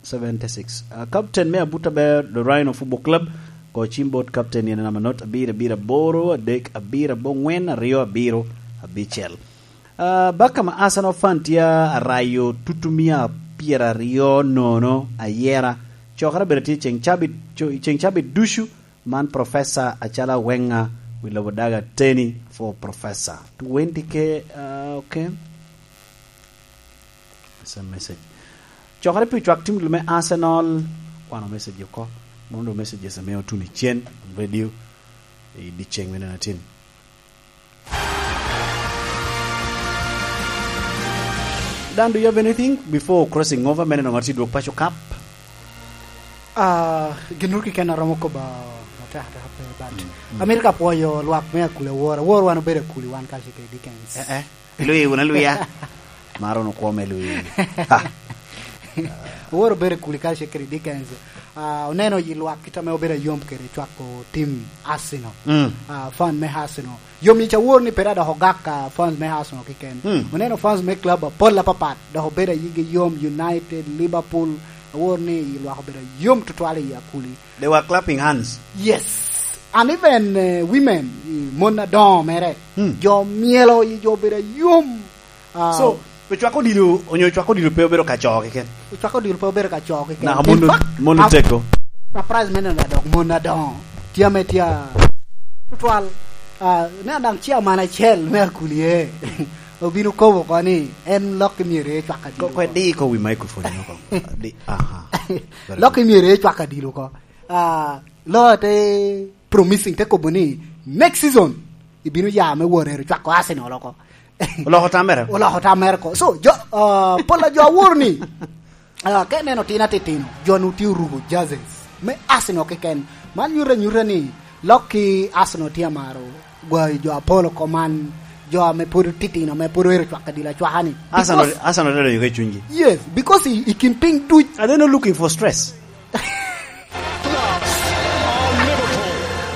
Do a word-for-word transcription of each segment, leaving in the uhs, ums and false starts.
Seventy-six. Uh, captain me Abuta Bear, the Rhino Football Club, ko cim bot captain yene namba not abiro abiro aboro adek abiro abongwen aryo abiro abicel. Uh, baka ma Arsenal fan tye arayo tutu mia pyeraryo nono ayera. Cokere bene tye ceng cabit, co-, ceng cabit ducu. Man Professor Acala Wenger, wi lobo daga teni for Professor. Twenty K, uh, okay. It's a message. Cokere pi cwak tim me Arsenal, kwano message oko. Mono do messages ame otuno i cen, radio, i dyeceng me neno atin. Dan, do you have anything before crossing over, me neno ŋat i dwok paco kap? Ah, gin ru keken aromo kobo matek ateka pe, but Mm, mm. Amito ka pwoyo lwak me Akuli awor. Awor wan obedo Akuli wan kacel kede Dickens. Eh, eh. Lui, wun aluya. Maro no kwo me lui. Ha. Awor obedo Akuli kacel kede Dickens. Ah, oneno yi lwak kit ame obedo ayom kede cwako tim Arsenal. Mm. Ah, fan me Arsenal. Yom yic awor ni pe dok ogak ka fans me Arsenal keken. Hmm. Oneno fans me club apol apapat, dok obedo ayigi yom, United, Liverpool, awor ni i lwak obedo yom tutwal i Akuli. They were clapping hands. Yes. And even, eh, women, i mon adoŋo mere, Hmm. jo myelo i jo obedo yom. Ah, So, ocwako odilo, onyo ocwako odilo pe obedo ka co keken? Ocwako odilo pe obedo ka co keken. Naka In mon, fact, mon ah, otego. Surprise me neno adok mon adoŋo. Tye ame tye a-, tutwal. Ah, ne daŋ chairman acel me Akuli e. Obino kobo oko ni en lok i myero ecwak adilo Ko, ko oko. Di ko wi microphone oko. Di, aha. Very Lok good. I myero ecwak adilo oko. Ah, lo te promising, te kobo ni next season ibino ya me wot ero cwako Arsenal oko. Oloko tam mere? Oloko tam mere ko. So, jo, ah, pol a jo awor ni, ah, ka ineno tin atitino, jo nu tye oruko jerseys me Arsenal keken. Man nyuto anyuta ni lok i Arsenal tye amaro gwayo jo apol oko man, jo ame pwod titino, ame pwod ero cwako adilo acwaka ni. Arsenal, Because Arsenal tye doŋ i cunygi. Yes, because i, i kin piny duc. Are they not looking for stress?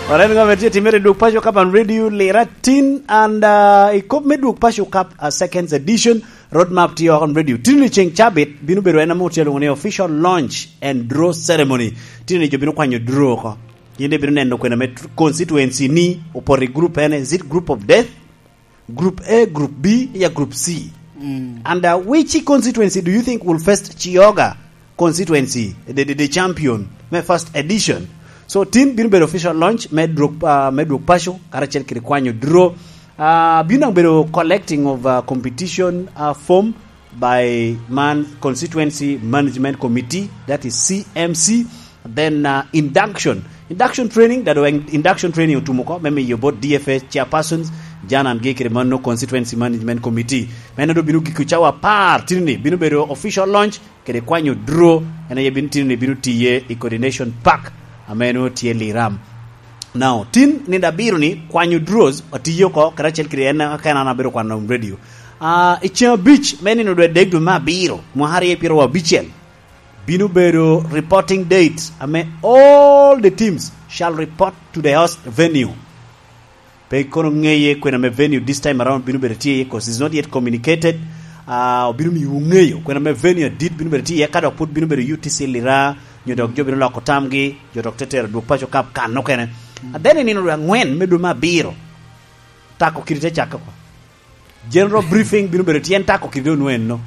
Alright, ŋo ame tye timere i Dwok Paco Cup on Radio Lira tin, and, uh, i kop me Dwok Paco Cup, uh, seconds edition, roadmap tye oko on radio. Tin i ceng cabit, bino bedo en ame otye alwoŋo ni official launch and draw ceremony. Tin i jo bino kwanyo draw oko. Yin ibino neno kwena me tr-, constituency ni opoto i group ene, is it group of death? Group A, Group B, ya Group C. Mm. And, uh, which constituency do you think will first Chiyoga constituency, the, the, the champion, me first edition? So, tin bino bedo official launch me Dwok, uh, me Dwok Paco, karacel kede kwanyo draw. Uh, bino daŋ bedo collecting of, uh, competition, uh, form by man Constituency Management Committee, that is C M C. Then, uh, induction. Induction training, that when induction training otumo oko, me miyo both D F A chairpersons, Jan and Gay kede mano Constituency Management Committee. Meno do bino giko cawa apar, tini bino bedo official launch, kede kwanyo draw, en aye bino tini bino tiye i Coordination Park, ame no tye Liram. Now, tin nindo abiro ni kwanyo draws otiyo oko, kede acel kede en, ka en an abedo kwano radio. Ah, i ceng abic, me nino dwe adek dwe me abiro, mwaka aryo pyeraryo abicel, bino bedo reporting date ame all the teams shall report to the host venue. Pe kono ŋeye kwena me venue this time around bino bedo tye iye, 'cause it's not yet communicated. Ah, obino miyo ŋeyo kwena me venue adit bino bedo tye iye, ka dok pwod bino bedo U T C Lira, nyo dok jo bino loko tamgi, jo dok te tero Dwok Paco Cup kan okene. And then i nino dwe angwen me dwe me abiro, tako kidi te cakke oko. General briefing bino bedo tyen tako kede onweno.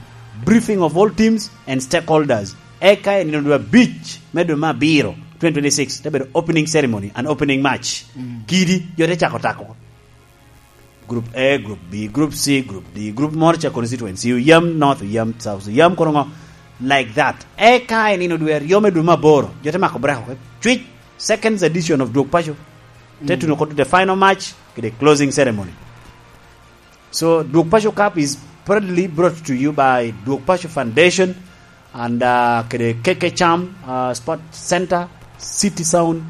Briefing of all teams and stakeholders. Eka i nino dwe abic me dwe me abiro, twenty twenty-six, te bedo opening ceremony and opening match. Mm. Kidi, jo te cako tako. Group A, Group B, Group C, Group D, Group moro ca constituency, oyam North, oyam South, oyam kono ŋo, like that. Eka i nino dwe aryo me dwe me aboro, jo te mako break oko. Cwic, second edition of Dwok Paco. Te Mm. tuno kod the final match, kede closing ceremony. So, Dwok Paco Cup is proudly brought to you by Dwok Paco Foundation and, uh, kede K K Cham, uh, Sport Center, City Sound,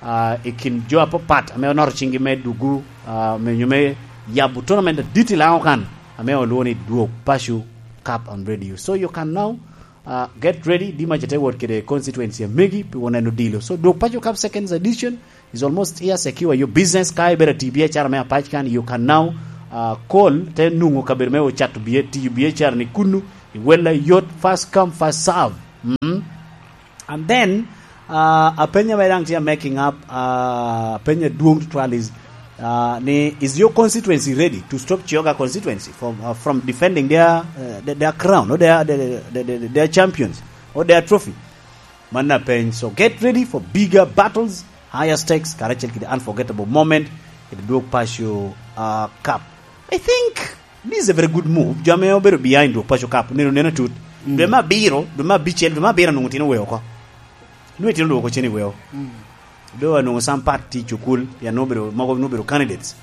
uh, i kin jo apapat ame onoto cinggi me dugu, uh, me nyo me yabo tournament adit i Lango kan, ame olwoŋo ni Dwok Paco Cup on Radio. So you can now, uh, get ready, di mac ite wot kede constituency amegi, pi woneno dilo. So Dwok Paco Cup seconds edition, is almost here. Secure your business. Ka ibedo ati biacara me apac kan, you can now, uh, call, te nungo kabedo me ocato bia-, tiyo biacara ni kunu, i wella yot, first come, first serve. Mm. Then, uh, a penyo me dang tye making up, uh, a penyo adwong tutwal is, uh, ni, is your constituency ready to stop Kyoga constituency from, uh, from defending their, uh, their, their crown, or their, their, their, their, their champions, or their trophy? Man a peny. So get ready for bigger battles, higher stakes, karacel kede unforgettable moment, kede dwog paco, uh, cup. I think this is a very good move. Jo ame obedo behind dwog paco cup, neno neno tut. Mm. Dwe me abiro, dwe me abicel, dwe me abiro anwoŋo tino weo oko. Nwoŋo itino dwoko cen i weo. Mm. Do anwoŋo some part tye i cukul, pien nwoŋo obedo, mogo nwoŋo obedo candidates.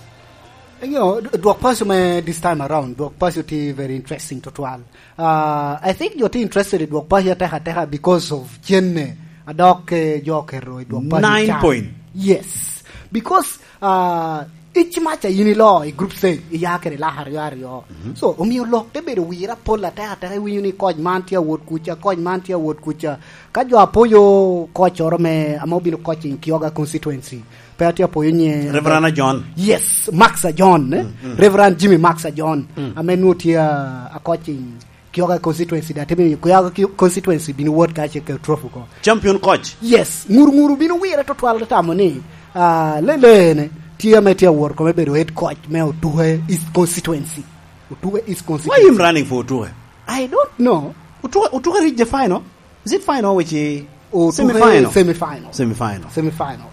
You know, d-, dwok paco me this time around, dwok paco tye very interesting tutwal. Uh, I think jo tye interested i dwok paco ateka ateka because of cenne, adok, eh, jo oketo i dwok paco. Nine can. Point. Yes. Because, uh, each match a yin ilo i group stage, iya kede lak aryo aryo. Mhm. So, omio lok te bedo wira pol ateka ateka, iwinyo ni koc man tye awot kuca, koc man tye awot kuca. Ka jo apoyo koc oro me, ame obino coaching Kyoga constituency, pe atye apoyo nye. Reverend John. Yes, Max John, eh? Mm, mm. Reverend Jimmy Max John, mm, ame nwoŋo tye, ah, a coaching Kyoga constituency, da timi Kyoga ki-, constituency bino wot ka ce ke trophy ko. Champion coach. Yes, ŋuru ŋuru bino wire tutwal tamo ni, ah, lelene tye ame tye awot kome bedo head coach me Otuke East constituency. Otuke East constituency. Why him running for Otuke? I don't know. Otuke, Otuke reach the final? Is it final which is Otuke semi-final? Semi-final. Semi-final. Semi-final.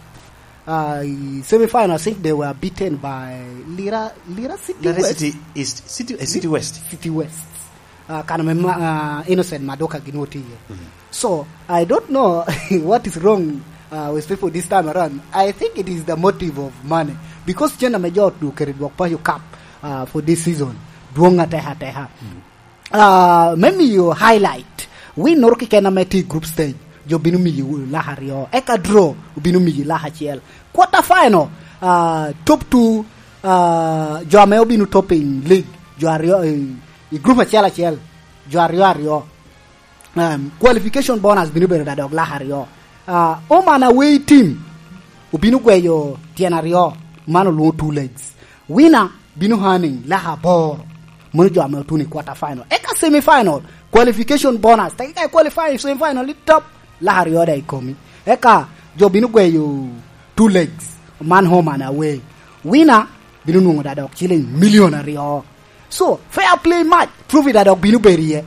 Uh, semi-final, I think they were beaten by Lira, Lira City Lira West. City East, City, eh, City West. City West. Uh, kan me ma-, uh, Innocent Maduka gin oti ye. Mhm. So, I don't know what is wrong, uh, with people this time around. I think it is the motive of money. Because cen ame jo otuke i dwok paco cup, uh, for this season, dwong ateka ateka. Mhm. Ah, me miyo highlight, win noro keken ame tye i group stage, jo bino miyi lak aryo. Eka draw, obino miyi lak acel. Quarter final, ah, top two, ah, jo ame obino topping league, jo aryo, i, i group acel acel, jo aryo aryo. Um, qualification bonus bino bedo da dok lak aryo. Ah, home and away team, obino gweyo tyen aryo, man olwoŋo two legs. Winner bino earning lak aboro, mono jo ame otuno i quarter final. Eka semi final, qualification bonus, teke ka i qualify i semi final i top, lak aryo da i komi. Eka jo bino gweyo two legs, man home and away. Winner bino nwoŋo da dok ciling million aryo. So, fair play match, trophy da dok bino bedo iye.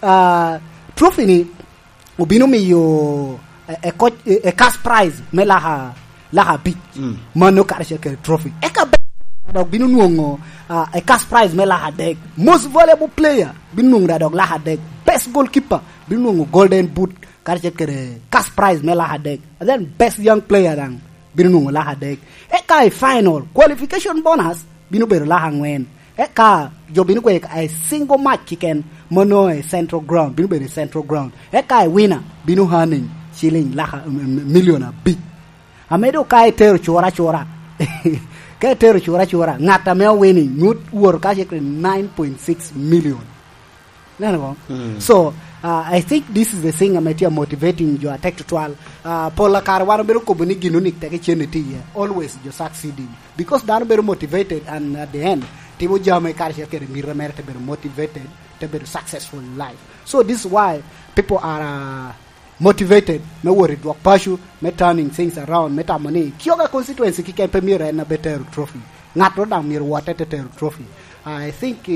Ah, trophy ni, obino miyo, eh, eh, coach, eh, eh, cash prize me laka, laka abic. Mm. Mano karacel kede trophy. Eka be-, dok bino nwoŋo, ah, eh, cash prize me laka adek. Most valuable player bino nwoŋo da dok laka adek. Best goalkeeper bino nwoŋo golden boot karacel kede cash prize me laka adek. And then best young player daŋ bino nwoŋo laka adek. Eka i final, qualification bonus bino bedo laka aŋwen. Eka jo bino gweyo a single match keken, mano i Central Ground, bino bedo i Central Ground. Eka i winner bino earning ciling laka, m-, m-, million abic. Ame dok ka itero cura acura, ka itero cura acura, ŋat ame owinning nwoŋo woro ka cekere nine point six million. Neno ko? Mm. So, uh, I think this is the thing ame tye motivating jo atek tutwal. Uh, pol a kare wan obedo kobo ni gin onik tek icen itye iye. Always jo succeeding. Because dano bedo motivated and at the end, timo jami karacel kede mito mere te bedo motivated, te bedo successful in life. So this is why people are, uh, motivated me wot i dwok paco, me turning things around, me tamo ni Kyoga constituency kiken pe myero en abe tero trophy. Ŋat ro daŋ myero wotte te tero trophy. I think,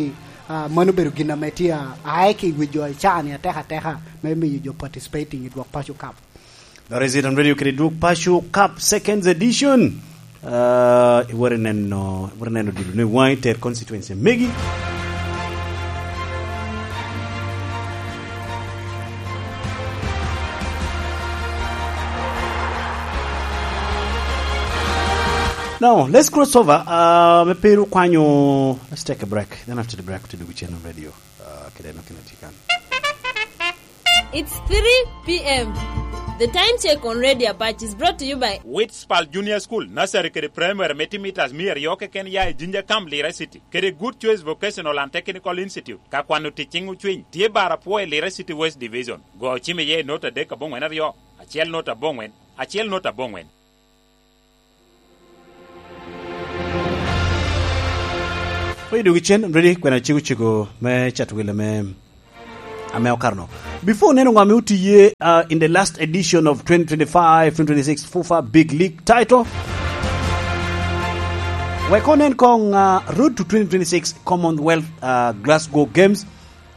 uh, mano obedo gin ame tye a, aye ki wi jo i caa-ni ateka ateka me miyo jo participating i dwok paco cup. Dok Resident Radio kede dwok paco cup seconds edition. Uh, iwore neno, iwore neno dilo ne waŋi ter constituency megi. Now, let's cross over. Uh, me piro kwanyo, let's take a break. Then after the break, to do with Channel Radio. Uh, kede no kina tikan. It's three p.m. The time check on Radio Apache is brought to you by Witspal Junior School, Nursery kede Primary me timitas mia aryo keken ya i Jinja Camp, Lira City, kede Good Choice Vocational and Technical Institute. Ka kwano tic ciŋ ocwiny, tye bar apwo i Lira City West Division. Go ocim iye i not adek aboŋwen aryo, acel not aboŋwen, acel not aboŋwen. Oye dwogo cen, ready, kwena cego cego me cat wille me ame okarno. Before oneno ŋo ame otiye, uh, in the last edition of twenty twenty-five twenty twenty-six fufa Big League title, wek onen koŋ, uh, road to twenty twenty-six Commonwealth, uh, Glasgow Games,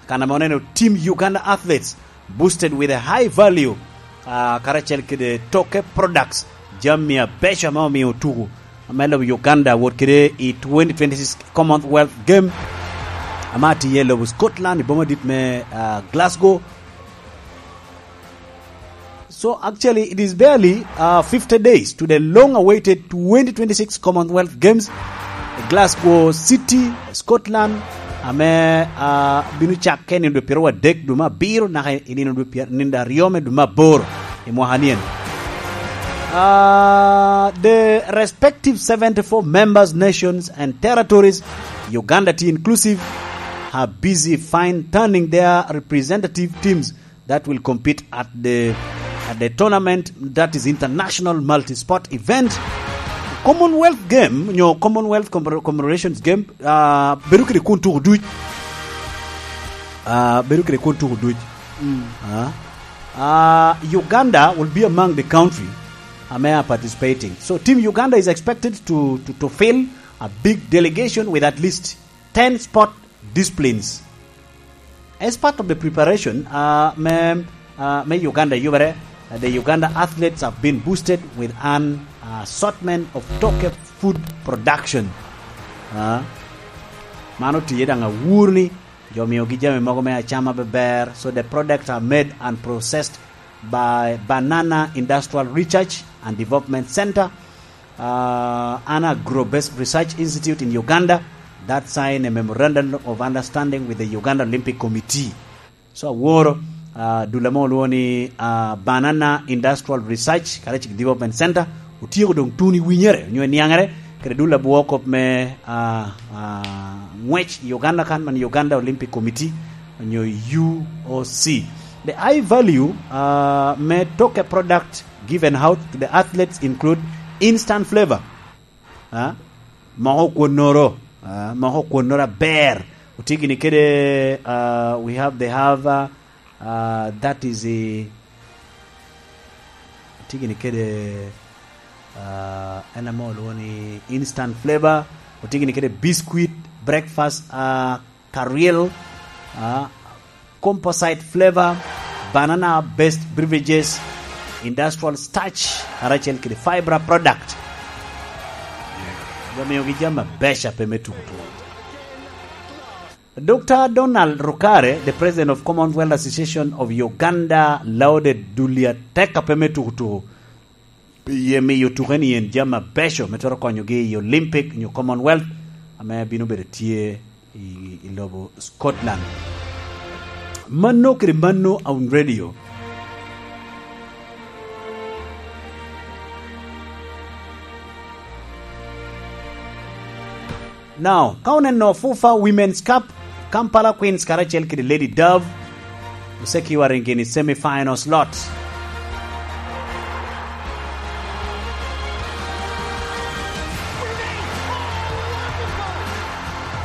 kan ame oneno Team Uganda Athletes boosted with a high value, uh, karacel kede toke products, jami abeco ame omio otuku ame lobo Uganda wot kede i twenty twenty-six Commonwealth Game, ame atiye i lobo Scotland, i boma dit me, uh, Glasgow. So actually, it is barely, uh, fifty days to the long-awaited twenty twenty-six Commonwealth Games, Glasgow City, Scotland, ame, uh, bino cakke nino dwe pyeradek dwe me abiro, naka i nino dwe pyer-, nino aryo me dwe me aboro i mwaka nien. Uh, the respective seventy-four members, nations, and territories, Uganda tye inclusive, are busy fine-tuning their representative teams that will compete at the, at the tournament that is international multi-sport event. Commonwealth Game, nyo Commonwealth Commemor-, Commemorations Game, uh, bedo kede kun tuko duc. Uh, bedo kede kun tuko duc. Uh, uh, Uganda will be among the country ame are participating. So Team Uganda is expected to, to, to field a big delegation with at least ten sport disciplines. As part of the preparation, uh, me, uh, me Uganda yubere, uh, the Uganda athletes have been boosted with an, uh, assortment of toke food production. Uh, mano tiye daŋ awur ni jo miogi jami mogo me acama beber. So the products are made and processed by Banana Industrial Research and Development Center, uh, an Agro-Based Research Institute in Uganda that signed a memorandum of understanding with the Uganda Olympic Committee. So aworo, uh, dul ame olwoŋo ni, uh, Banana Industrial Research Karacik Development Center otyeko doŋ tuno i winyere, onyo i niaŋere, kede dul abwoo kop me, uh, uh, ŋwec i Uganda kan, man Uganda Olympic Committee, onyo U O C. The high value, uh, me toke product given out to the athletes include instant flavor. Ah, moko kwonnoro, ah, moko kwonnoro aber. Otye gini kede, ah, we have, they have, ah, ah, that is a, otye gini kede, ah, en ame olwoŋo ni instant flavor. Otye gini kede biscuit, breakfast, ah, Caril, ah, composite flavor, banana-based beverages, industrial starch, karacel kede fiber product. Omiyogi jami abeco ape me tuko tuko. Doctor Donald Rukare, the president of Commonwealth Association of Uganda, lauded dul atek ape me tuko tuko. Pi ye miyo tuke ni en jami abeco me twero konyogi i Olympic nyo Commonwealth ame bino bedo tye i, i lobo Scotland. Mano kede mano, Aun Radio. Now, ka oneno fufa Women's Cup, Kampala Queens karacel kede Lady Dove osekiwa ringi ni semi-final slot.